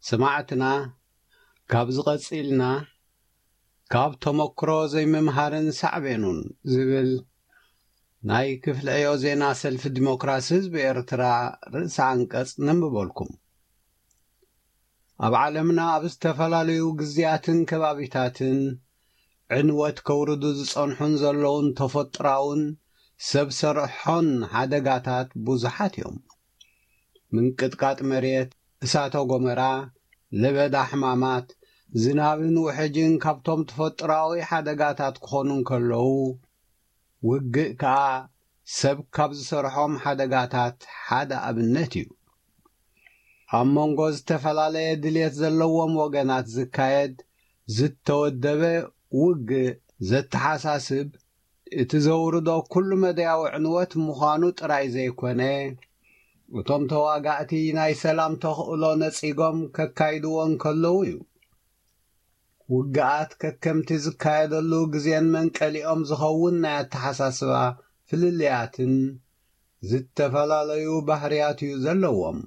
ሰማዕትና፣ ካብዚ ቀጺልና ካብ ተመክሮ ዘይምምሃርን ሳዕቤኑን ዝብል ናይ ክፍሊ ዕዮ ዜና ሰልፊ ዲሞክራሲ ህዝቢ ኤርትራ ርእሰ ኣንቀጽ ነንብበልኩም። ኣብ ዓለምና ኣብ ዝተፈላለዩ ግዜያትን ከባቢታትን ዕንወት ከውርዱ ዝጸንሑን ዘለውን ተፈጥራውን ሰብ ሰርሖን ሓደጋታት ብዙሓት እዮም። ምንቅጥቃጥ መሬት፣ እሳተ ጎመራ፣ ለበዳ ሕማማት፣ ዝናብን ውሕጅን ካብቶም ተፈጥራዊ ሓደጋታት ክኾኑ እንከለዉ፣ ውግእ ከኣ ሰብ ካብ ዝሰርሖም ሓደጋታት ሓደ ኣብነት እዩ። ኣብ መንጎ ዝተፈላለየ ድልየት ዘለዎም ወገናት ዝካየድ ዝተወደበ ውግእ ዘተሓሳስብ፣ እቲ ዘውርዶ ኩሉ መደያዊ ዕንወት ምዃኑ ጥራይ ዘይኮነ፣ እቶም ተዋጋእቲ ናይ ሰላም ተኽእሎ ነጺጎም ከካይድዎ እንከለዉ እዩ። ውግኣት ከከምቲ ዝካየደሉ ግዜን መንቀሊኦም ዝኸውን ናይ ኣተሓሳስባ ፍልልያትን ዝተፈላለዩ ባህርያት እዩ ዘለዎም።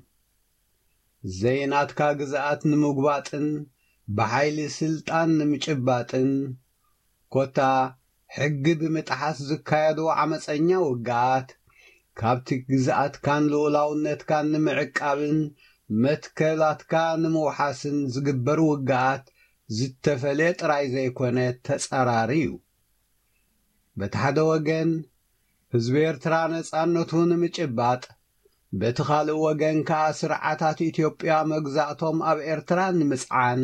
ዘይናትካ ግዝኣት ንምጉባጥን ብሓይሊ ስልጣን ንምጭባጥን፣ ኮታ ሕጊ ብምጥሓስ ዝካየዱ ዓመፀኛ ውግኣት፣ ካብቲ ግዝኣትካን ልኡላውነትካን ንምዕቃብን መትከላትካ ንምውሓስን ዝግበር ውግኣት ዝተፈልየ ጥራይ ዘይኮነ ተጻራሪ እዩ። በቲ ሓደ ወገን ህዝቢ ኤርትራ ነጻነቱ ንምጭባጥ፣ በቲ ካልእ ወገን ከኣ ስርዓታት ኢትዮጵያ መግዛእቶም ኣብ ኤርትራ ንምጽዓን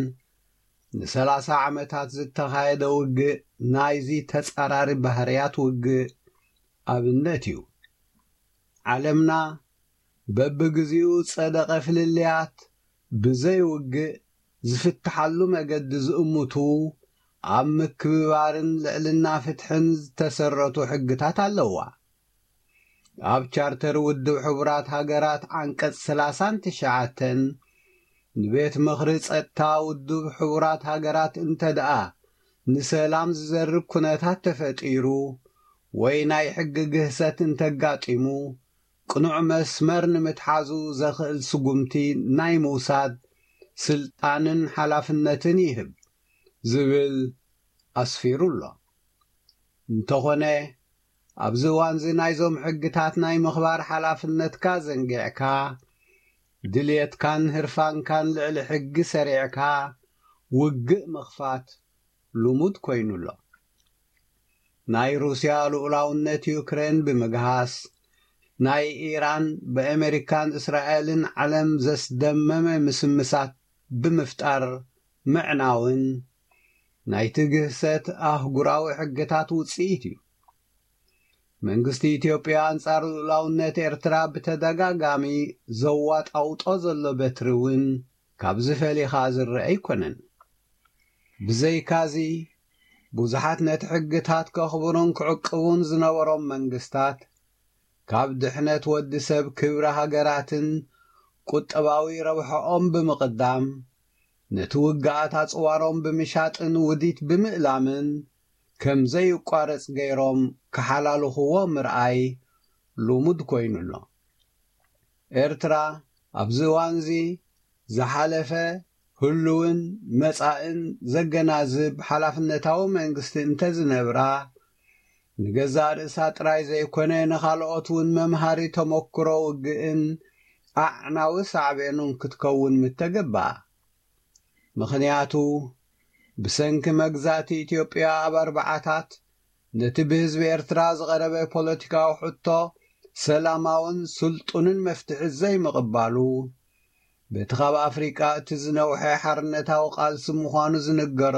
ንሰላሳ ዓመታት ዝተኻየደ ውግእ ናይዚ ተጻራሪ ባህርያት ውግእ ኣብነት እዩ። ዓለምና በብግዚኡ ጸደቐ ፍልልያት ብዘይ ውግእ ዝፍትሓሉ መገዲ ዝእምቱ ኣብ ምክብባርን ልዕልና ፍትሕን ዝተሰረቱ ሕግታት ኣለዋ። ኣብ ቻርተር ውድብ ሕቡራት ሃገራት ዓንቀጽ ሰላሳን ትሽዓተን ንቤት ምኽሪ ጸጥታ ውድብ ሕቡራት ሃገራት እንተ ደኣ ንሰላም ዝዘርግ ኩነታት ተፈጢሩ ወይ ናይ ሕጊ ግህሰት እንተጋጢሙ፣ ቅኑዕ መስመር ንምትሓዙ ዘኽእል ስጉምቲ ናይ ምውሳድ ስልጣንን ሓላፍነትን ይህብ ዝብል ኣስፊሩ ኣሎ። እንተኾነ፣ ኣብዚ እዋንዚ ናይዞም ሕግታት ናይ ምኽባር ሓላፍነትካ ዘንጊዕካ፣ ድልየትካን ህርፋንካን ልዕሊ ሕጊ ሰሪዕካ ውግእ ምኽፋት ልሙድ ኮይኑ ኣሎ። ናይ ሩስያ ልኡላውነት ዩክሬን ብምግሃስ፣ ናይ ኢራን ብኣሜሪካን እስራኤልን ዓለም ዘስደመመ ምስምሳት ብምፍጣር ምዕናውን ናይቲ ግህሰት ኣህጉራዊ ሕግታት ውጽኢት እዩ። መንግስቲ ኢትዮጵያ ኣንጻር ልኡላውነት ኤርትራ ብተደጋጋሚ ዘዋጣውጦ ዘሎ በትሪ እውን ካብዚ ፈሊኻ ዝረአ ኣይኮነን። ብዘይካዚ፣ ብዙሓት ነቲ ሕግታት ከኽብሩን ክዕቅቡን ዝነበሮም መንግስታት፣ ካብ ድሕነት ወዲ ሰብ ክብሪ ሃገራትን ቁጠባዊ ረብሓኦም ብምቕዳም፣ ነቲ ውግኣት ኣጽዋሮም ብምሻጥን ውዲት ብምእላምን ከም ዘይቋረጽ ገይሮም ክሓላልኽዎ ምርኣይ ልሙድ ኮይኑ ኣሎ። ኤርትራ ኣብዚ እዋንዚ ዝሓለፈ፣ ህሉውን መጻእን ዘገናዝብ ሓላፍነታዊ መንግስቲ እንተዝነብራ፣ ንገዛእ ርእሳ ጥራይ ዘይኮነ ንኻልኦት እውን መምሃሪ ተመክሮ ውግእን ኣዕናዊ ሳዕቤኑን ክትከውን ምተገባኣ። ምኽንያቱ፣ ብሰንኪ መግዛእቲ ኢትዮጵያ ኣብ ኣርብዓታት ነቲ ብህዝቢ ኤርትራ ዝቐረበ ፖለቲካዊ ሕቶ ሰላማውን ስልጡንን መፍትሒ ዘይምቕባሉ፣ በቲ ካብ ኣፍሪቃ እቲ ዝነውሐ ሓርነታዊ ቃልሲ ምዃኑ ዝንገረሉ